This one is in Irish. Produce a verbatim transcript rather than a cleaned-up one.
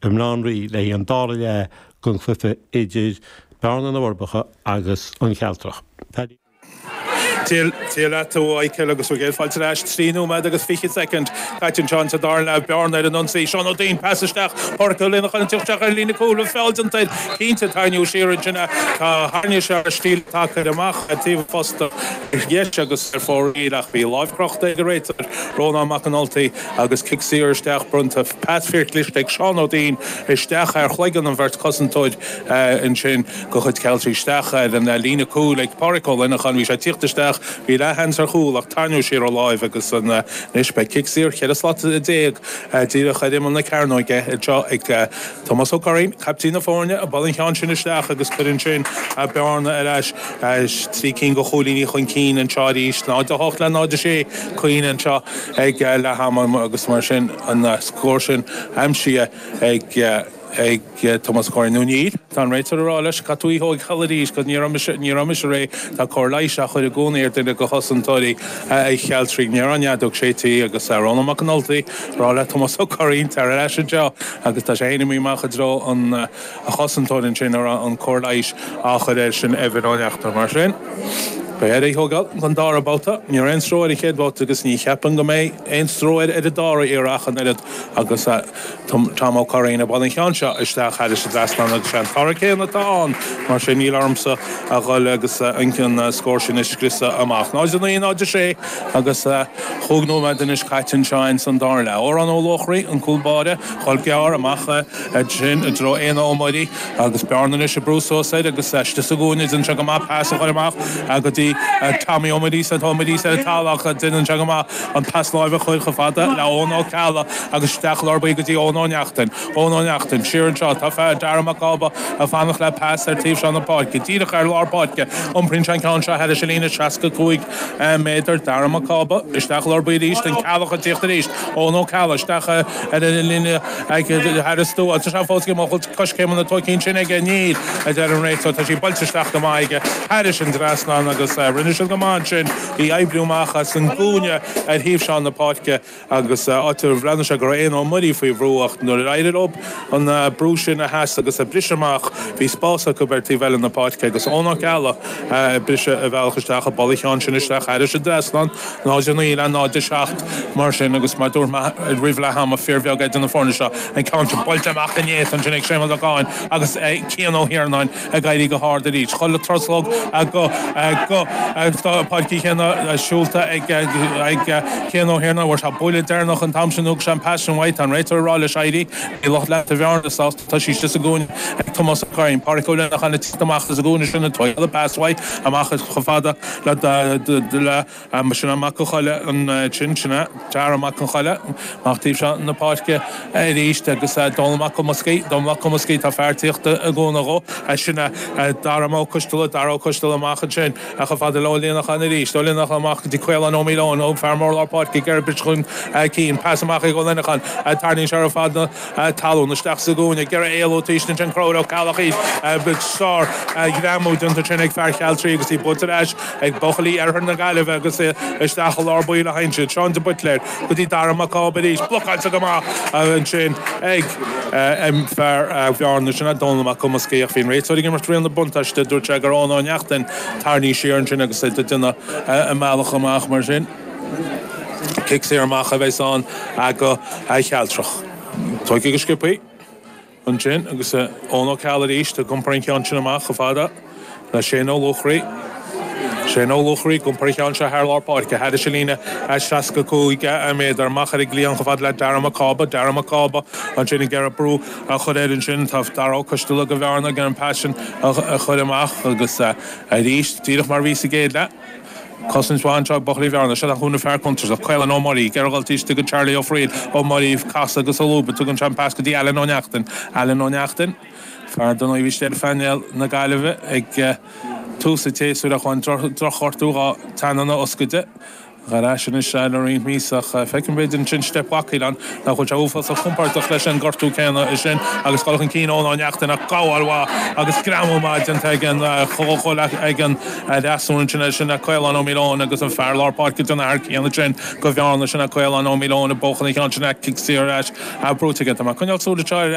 i mBaile Átha an Rí le an dara leath den chluiche idir Bearna na bhForbacha agus an Chealtrach. Paddy. Dia leat a Mhichael agus ag fáilte ar ais trí nóiméad agus fiche soicind caite anseo sa dara leath Bearna ar an ionsaí Seán Ó Duinn pas isteach Pádraic Ó Lionnacháin isteach ar líne cúil feall déanta cinnte tarraingthe siar ansin tá tharraing sé ar stíl tacair amach taobh posta dheis agus ar fóraoil ach bhí lámh crochta ag an réiteoir Rónán Mac an Ultaigh agus cic saor isteach bronnta pas fíorchliste ag Seán Ó Duinn isteach ar chloigeann an bheirt cosantóir ansin de chuid Cealtrach isteach ar an líne cúil ag Pádraic Ó Lionnacháin bhí sé tíocht isteach bhí leathsheans ar chúl ach tarraingíodh siar a láimh agus an anois beidh cic saor ceithre slat déag díreach ar imeall na cearnóige anseo ag Tomás Ó Curraoin, caiptín na foirne ag bualadh an cheann sin isteach agus cuireann sin Bearna ar ais trí cinn de chúilíní chun cinn anseo arís náid a hocht le náid a sé Caoine anseo ag leath ama agus mar sin an scór sin aimsithe ag ag Tomás Curraoin nó níl Tá an réiteoir ag rá leis cad tú thóg arís go ní ní raimis ré tá cóir leighis á chur i gcónaí ar duine de chosantóirí Chealtrach ní an fheadóg séidte agus Rónán Mac an Ultaigh ag rá le Tomás Ó Curraoin tar ar ais anseo agus tá sé féin amach i dtreo an a chosantóir ansin ar an cóir leighis á chur air sin Evan Ó Neachtain mar sin. Beidh air thógáil an dara babhta, ní aon stró ar an chéad bhabhta agus ní cheapaim go mbeidh aon stró ar ar an dara iarracht an oiread agus Tom Ó Curraoin ag bualadh an cheann seo isteach thar an trasnán agus sé an toradh céanna atá ann mar sin níl ormsa a dhul agus an scór sin a scriosadh amach. Náid a naoi náid a sé agus chúig nóiméad anois caite anseo san dara leath. Odhrán Ó Luachraí an cúl báire chul gearr amach sin i dtreo Éanna Ó Muirí agus Bearna anois ag brú suas air agus istigh sa gcúinne déanann sé go maith pas a chur amach go dtí Tommy Ó Muirí Ó Muirí ar an talamh déanann sé go maith an pas láimhe a chur chomh fada le Eoin Ó Ceallaigh agus isteach lár go dtí Eoin Ó Neachtain. Eoin Ó Neachtain siar anseo tá fear Dara Mac Cába ag fanacht le pas ar taobh seo na páirce. Díreach ar lár páirce iompraíonn sé an ceann seo thar líne seasca cúig méadar Dara Mac Cába isteach lár arís den Ceallach an tíocht arís Eoin Ó Ceallaigh isteach ar an líne thar stua Tá sé fós coiscéimeanna tógtha sin aige níl a deir an réiteoir tá sí buailte isteach go maith aige thar an trasnán agus rinne siad go maith sin í oibriú amach as an gcúinne ar thaobh seo na páirce agus áit a bhreathnaigh sé go raibh Éanna Ó Muirí faoi bhrú ach nuair a éirigh leo an brú sin a sheasamh agus a briseadh amach bhí spás acu ar taobh eile na páirce agus Eoin Ó Ceallaigh briseadh a bhealach isteach ag bualadh an cheann sin isteach thar an trasnán náid a naoi le náid a seacht mar sin agus mar dúirt roimh leath ama fíorbheag idir na foirne seo an ceann sin buailte amach inné ansin ag Séamus Ó Cadhain agus Cian Ó hIarnáin ag éirí go hard arís. Chuile truslóg go go Páirc chéanna siúlta ag ag Cian Ó hIarnáin bhfuair sé buille deireanach an t-am sin thug sé an pas sin uaidh an réiteoir ag rá leis éirí i lucht leata Bhearna sásta tá sí sa gcúinne ag Tomás Ó Curraoin Pádraic Ó Lionnacháin amach as an gcúinne sin an toile pas uaidh amach chomh fada le le sin amach an choile an sin sin Dara Mac an Choile amach taobh seo na páirce arís agus Dónal Mac Cumascaí Dónal Mac Cumascaí tá fear tíochta i gcóna dhó sin Dara Ó Coisteala Dara Ó Coisteala amach ansin chomh fada le Ó Lionnacháin arís Ó Lionnacháin amach go dtí Caolán Ó Míleáin ó fear mór lár páirce ag iarraidh chun cinn pas amach ag Ó Lionnacháin tarraingíonn sé ar fad na talún isteach sa gcúinne ag iarraidh éalú taobh sin Conchúr Ó Ceallaigh sár ghreamú déanta sin ag fear Chealtraí agus í buailte ar ais ag buachaillí Oirthear na Gaillimhe agus isteach i lár baill a hain siad Seán de Buitléir go dtí Dara Mac Cába arís blocáilte go maith ansin ag fear Bhearna sin Dónal Mac Cumascaí ach bhí an réiteoir ag imirt riail na buntáiste dúirt sé gur Eoin Ó Neachtain tarraingthe siar ansin agus é déanamh a mbealach amach mar sin. Cic saor amach a bheas ann go Chealtrach. Tógtha go sciobtha ansin agus Eoin Ó Ceallaigh arís ag iompar an ceann sin amach chomh fada le Shane Ó Luachraí. Shane Ó Luachraí ag iompar an cheann seo thar lár páirce thar an líne seasca cúig méadar amach ar an gcliathán chomh fada le Dara Mac Cába Dara Mac Cába ansin ag iarraidh brú a chur air ansin tá Dara Ó Coisteala go Bhearna ag an pas sin a chur amach agus arís díreach mar bhí sa gcéad leath. Cosaint mhaith anseo ag buachaillí Bhearna seo an chúnamh fear contúirteach Caolán Ó Muirí ag dul isteach go Charlie Ó Frighil Ó Muirí casadh agus a lúb tugann sé an pas go dtí Alan Ó Neachtain Alan Ó Neachtain fear don bhí sé ar phainéal na Gaillimhe ag tús an tséasúir ach an drochghortú dhá teannán oscailte Gar sin is le roinnt míosa feicim b'fhéidir ansin step bhacail an nach bhfuil sé uafásach compordach leis an gortú céanna é sin agus dul chun cinn Eoin Ó Neachtain ach gabháil mhaith agus greamú maith déanta ag an chomh ag an fhreasúra sin sin Caolán Ó Míleáin agus an fear lár páirce den fhear céanna sin go Bhearna sin Caolán Ó Míleáin ag buachan an cheann sin cic saor ar ais brúite aige. Tá mé coinneáil súil ar